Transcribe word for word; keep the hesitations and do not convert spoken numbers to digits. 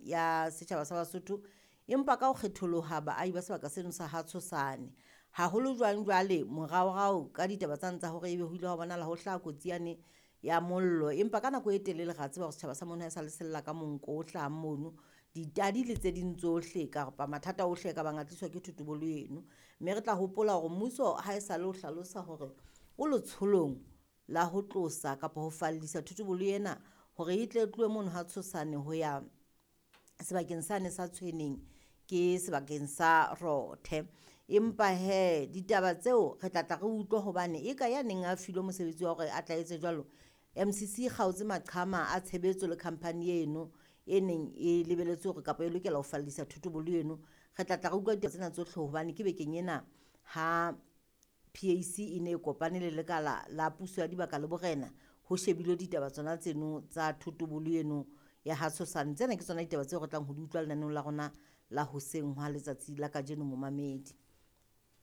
ya setjhaba sa Basotho, empa ka ho kgetholoha baahi ba sebaka seno sa ha Tshosane. Haholo jwang jwale moraorao ka ditaba tsane tsa hore ebe ho ile hwa bonahala ho hlaha kotsi yane ya mollo, empa ka nako e telele ra tseba hore setjhaba sa mono ha e sa le sella ka monko o hlahang mono, ditadi le tse ding tsohle kapa mathata ohle a ka bang a tliswa ke thotobolo eno. Mme re tla hopola hore mmuso ha e sa le ho hlalosa hore o letsholong la ho tlosa kapa ho fallisa thotobolo ena hore e tle tlohe mono ha Tshosane ho ya sebakeng sane sa Tshweneng ke sebakeng sa Rothe. Empa hee ditaba tseo re tla tla re utlwe hobane e ka ya neng a filwe mosebetsi wa hore a tla etse jwalo, M C C e kgaotse maqhama a tshebetso le company eno e neng e lebelletse hore kapa e lokela ho fallisa thotobolo eno. Re tla tla re utlwa ditaba tsena tsohle hobane ke bekeng ena ha P A C e ne e kopane le lekala la puso ya dibaka le borena ho shebilwe ditaba tsona tseno tsa thotobolo eno ya ha Tshosane. Tsena ke tsona ditaba tseo re tlang ho di utlwa lenaneong la rona la hoseng hwa letsatsi la kajeno momamedi.